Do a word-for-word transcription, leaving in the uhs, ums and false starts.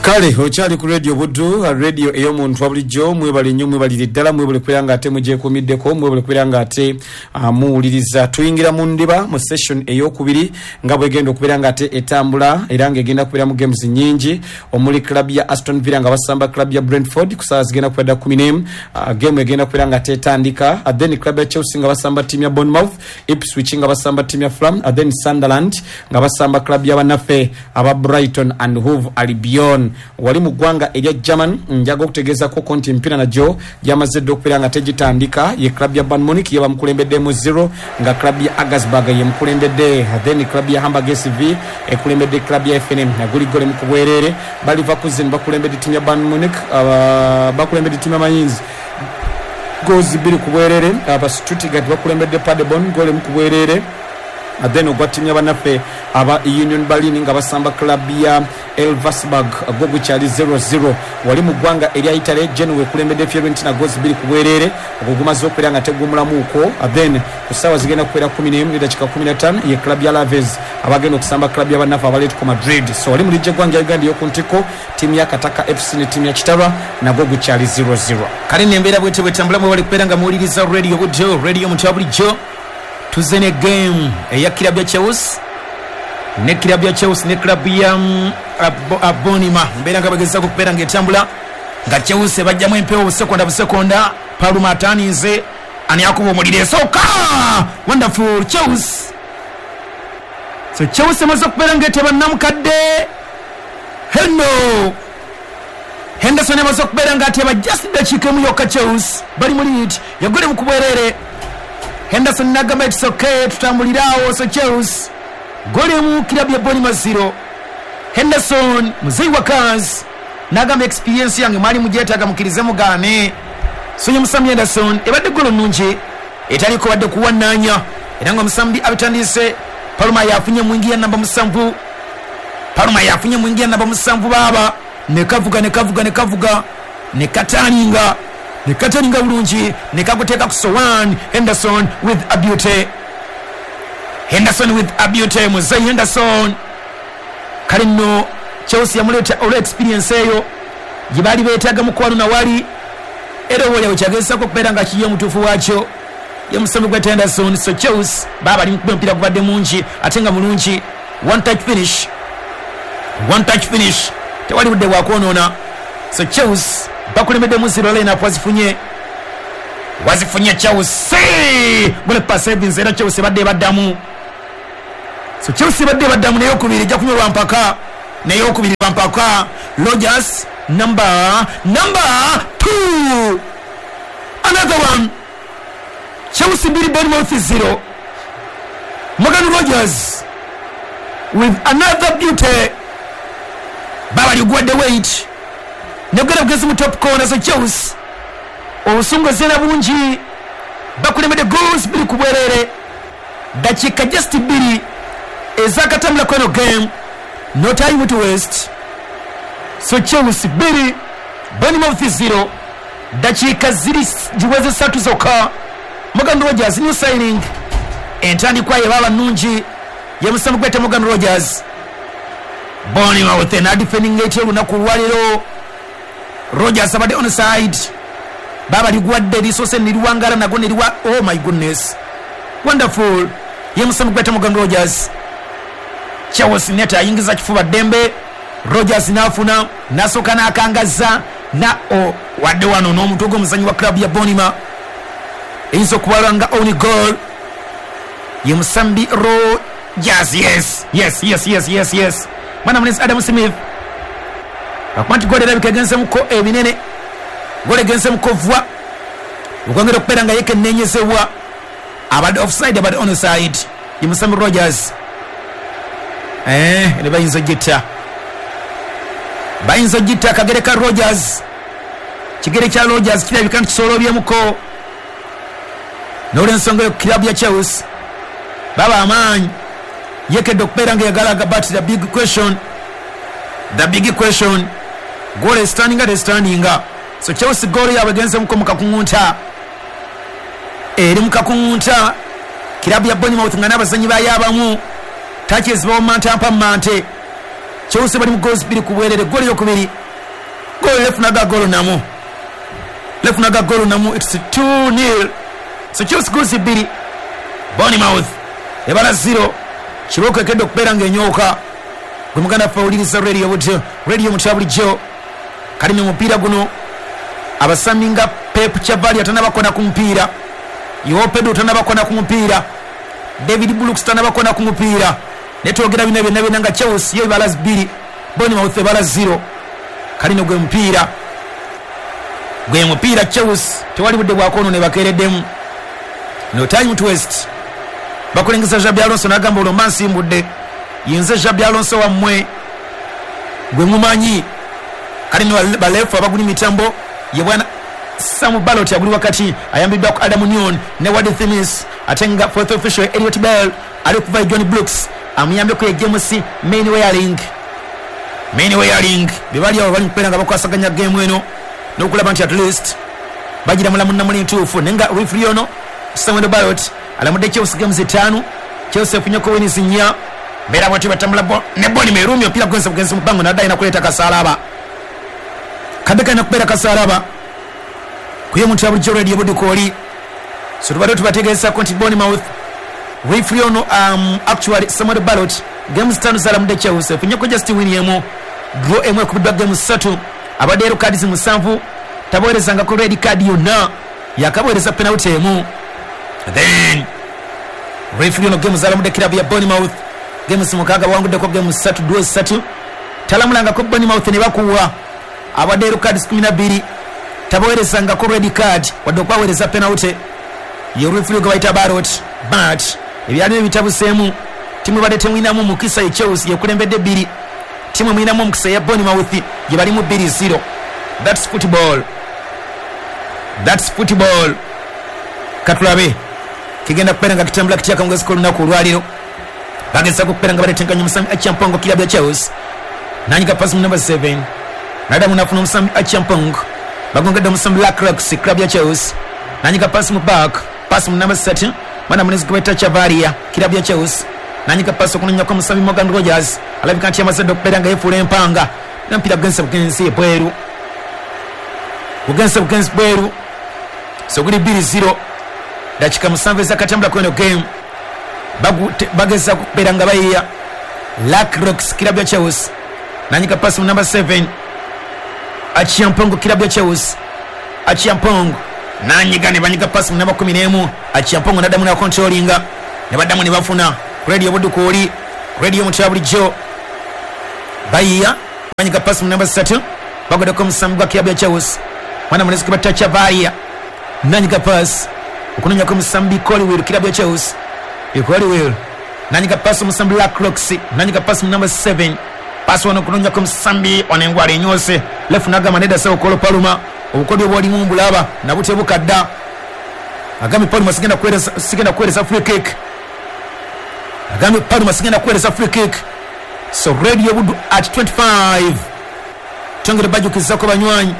Kale okyali ku Radio Buddu, radio ey'omuntu wa bulijjo. Mwebale nnyo, mwebalire ddala, mwebale kubeera nga ate mugyekuumiddeko, mwebale kubeera nga ate uh, muwuliriza. Tuyingira mu ndiba mu session ey'okubiri nga bwegenda okubeera nga ate etambula, era ng'egenda kubeera mu games nnyingi omuli club ya Aston Villa nga basamba club ya Brentford ku ssaawa zigenda kubeera kkumi n'emu. uh, game egenda kubeera nga ate etandika. uh, then club ya Chelsea nga basamba team ya Bournemouth, Ipswich nga basamba team ya Fulham, uh, then Sunderland nga basamba club ya bannaffe aba Brighton and Hove Albion. Wali mu ggwanga erya German, njaga okutegeezako nti emipiira nagyo gyamaze dda okubeera nga tegitandika. Ye club ya Bayern Munich ye bamukulembeddemu zero, nga club ya Augsburg ye mukulembedde, then club ya Hamburg S V ekulembedde club ya F N M naguli gole mu kubwerere. Ba Leverkusen bakulembedde timu ya Bayern Munich, uh, bakulembedde timu ya Mainz goals bbiri ku bwerere. Aba Stuttgart bakulembedde Paderborn gole mu kubwerere. Then ogwa timu y'abannaffe aba Union Berlin nga basamba club ya Elversberg gwo gukyali zero zero. Wali mu ggwanga erya Italy, Genoa ekulembedde Fiorentina goals bbiri ku bwerere, ogwo gumaze okubeera nga tegumulamuuko. Then ku ssaawa zigenda kubeera kkumi n'emu n'eddakiika kkumi na ttaano ye club ya Alaves abagenda okusamba club y'abannaffe aba Atletico Madrid. So wali mu liigi y'eggwanga ya Uganda ey'oku ntikko, ttiimu ya Kataka F C ne ttiimu ya Kitarwa nagwo gukyali zero zero. Kale nembeera bwete bwetambula, mwebale kubeera nga muwuliriza Radio Buddu, radio omuntu wa bulijjo. Tuze ne game eya club ya Chelsea ne club ya Chelsea ne club ya Bournemouth. Mbeera nga bagezaako okubeera ng'etambula nga Chelsea bajjamu empewo busekonda busekonda. Paluma ataninze ani akuba omuliro esooka. Wonderful Chelsea. So Chelsea emaze okubeera ng'eteba namukadde Hendo Henderson emaze okubeera ng'ateba just dakiika emu yokka. Chelsea bali mu lead yagole mu kubwerere. Henderson nagamba it's okay, tutambulirawo. So Chelsea goli mu club ya Bournemouth zero. Henderson muzeyi wa Kaz nagamba experience yange mwali mugyetaaga mukirize mugaane. So ye Musambi Henderson ebadde golo nnungi etaliko wadde kuwannanya, era nga Musambi abitandise. Paluma yafunye mwingi namba musanvu, Paluma yafunye mwingi namba musanvu baba nekavuga nekavuga nekavuga nekataninga nekataninga bulungi nekaguteeka ku Sowan. Henderson with a beauty, Henderson with a beauty, muzeyi Henderson. Kale nno Chelsea yamuleeta olwa experience eyo gye baali beetaaga mukwano nawali, era oboolyawo kyagezesaako okubeera nga kiye omutuufu waakyo ye musambi gwa Henderson. So Chelsea baba bali mukuba omupiira gubadde mungi ate nga mulungi. One touch finish, one touch finish, tewali budde bwakwonoona. So Chelsea bakulembeddemu zero, line-up wazifunye wazifunye Chelsea gole pass Evans, era Chelsea badde baddamu. So Chelsea badde baddamu naye okubiri ejja kunywa lwa mpaka, naye okubiri lwa mpaka. Rogers number number two, another one. Chelsea mbili Bournemouth zero. Morgan Rogers with another beauty. Baba ligwadde weight negera bugezi mu top corner. So Chelsea obusungu zena bungi, bakulembedde goals bbiri ku bwerere, dakiika just bbiri ezakatambula kweno game, no time to waste. So Chelsea bbiri Bournemouth zero, dakiika ziri ziweze ssatu zokka. Morgan Rogers new signing, entandikwa ye baba nnungi ye musambi gwete Morgan Rogers. Bournemouth na defending eight olunaku lwaleero. Rogers abadde onside, baba ligwadde lisoose niriwangala nago niriwa. Oh my goodness, wonderful ye musambi gwete Morgan Rogers. Chelsea neta ayingiza kifuba ddembe, Rogers n'afuna n'asooka n'akangaza na o wadde wano n'omutwe gw'omuzannyi wa club ya Bournemouth eyinza okubalwa nga own goal ye musambi Rogers. Yes yes yes yes yes yes, mwana munenzi Adam Smith akuba nti gole erabika egenzemuko ebinene, gole egenzemuko vwa okwongera okubeera nga yekenneenyezebwa. Abadde offside, abadde onside ye musambi Rogers. Eh, ne bayinza ogitta, bayinza ogitta akagere ka Rogers. Kigere kya Rogers kirabika nti kisoolobyemuko n'olwensonga eyo club ya Chelsea baba amaanyi yekedde okubeera nga yagalaga. But the big question, the big question, goal is standing at standing. So Chelsea goal yaabwe egenzemuko mu kakuŋŋunta, eri mu kakuŋŋunta. Club ya Bournemouth nga n'abazannyi baayo abamu touches bawomanta mpa mmante. Chelsea bali mu goals bbiri ku bwerere. Goli yokubiri, goli lefunaga golo namu, lefunaga golo namu. It's two nil. So Chelsea goals bbiri, Bournemouth ebala zero. Kibooko ekedde okubeera ng'enyooka. Gwe muganda ffe awuliriza Radio Buddu, radio mutya bulijjo. Kalimi omupiira guno abasambi nga Pep Chavaria tanabakona ku mupiira, Joao Pedro tanabakona ku mupiira, David Brooks tanabakona ku mupiira. Netwogera bino byonna byonna nga Chelsea yo ebala bbiri, Bournemouth ebala zero. Kalino gwe mupiira, gwe mupiira Chelsea tewali budde bwakwono ne bakeereddemu. No time to waste. Bakulengeza Xabi Alonso n'agamba olwo mba nsimbudde, yenze Xabi Alonso wammwe gwe mumanyi. Kalino balefu abaguli mitambo ye bwana Sam Balot aguli wakati, ayambiddwa ku Adam Newton ne Wade Thimis, ate nga fourth official Elliot Bell ali kuva John Brooks amuyambeko ye James Mainwaring. Mainwaring be bali awo bali mukubeera nga bakwasaganya game eno n'okulaba nti at least bagira mulamu namuli ntuufu. Naye nga referee ono Samuel Balot alamudde Chelsea games ttaano, Chelsea efunyeko wins nnya. Mbeera bwetyo batambula bo ne Boni Merumi, omupiira gugenze bugenzi mu bbango nadde alina kuleeta kasaalaba, kadde kalina kubeera kasaalaba kuye omuntu ya bulijjo Radio Buddu kwoli. So tubadde tubategeezako nti Bournemouth referee ono um, actually Samuel Balot games ttaano zalamudde Chelsea, efunyeko just win emu, draw emu ekubiddwa games ssatu, abadde yellow cards musanvu, tabowerezangako red card yonna, yakabowereza penalty emu. Then referee ono games zalamudde club ya Bournemouth games mukaaga, bawanguddeko games ssatu, draw ssatu, talamulangako Bournemouth ne bakuwa, abadde yellow cards kumi na bbiri, tabowerezangako red card wadde okwaweereza penalty. Ye referee gwe bayita Barot. But ebyalimu ebitabuseemu, timu ebadde temwinamu mukisa ye Chelsea yekulembedde bbiri, timu emwinamu omukisa ya Bournemouth gye balimu bbiri zero. That's football, that's football. Katulabe kigenda kubeera nga kitambula kitya akawungeezi k'olunaku olwaleero. Bagezaako okubeera nga baletenkanya omusambi Acheampong club ya Chelsea, nanyiga pasi mu number seven, nadamu nafuna omusambi Acheampong, bagongedde omusambi Lacroix club ya Chelsea, nanyiga pasi mu back, pasi mu number ssatu, mwana munezi gwe bayita Chavaria club ya Chelsea, nanyiga pasi okunonyako omusambi Morgan Rogers, alabika nti yamaze dda okubeera nga yeefuula empanga, n'omupiira gugenze bugenzi ebweru, gugenze bugenzi bweru. So guli bbiri zero, dakika musanvu ezakatambula kweno game. Bagezaako okubeera nga bayiya Lacroix club ya Chelsea, nanyiga pasi mu number seven Acheampong club ya Chelsea, Acheampong nanyiga ne banyiga pasi mu namba kumi n'emu, Acheampong naddamu nakontrolinga ne baddamu ne bafuna. Radio Buddu kwoli, radio mutya bulijjo. Bayiya banyiga pasi mu namba ssatu, bagoddeko omusambi gwa club ya Chelsea, mwana munezi gwe bayita Chavaria, nanyiga pasi okunonyako omusambi Colwill club ya Chelsea, Colwill nanyiga pasi omusambi Lacroix, nanyiga pasi mu namba seven, pasi wano okunonyako omusambi ono engwala enyoose lefu nagamba nedda sawo Kolo Paluma, obukodyo bw'olimu mbulaba nabutebuka dda. Agambye Paluma sigenda kuweereza, sigenda kuweereza free kick, agambye Paluma sigenda kuweereza free kick. So Radio Buddu at twenty-five, twongere bajjukizaako banywanyi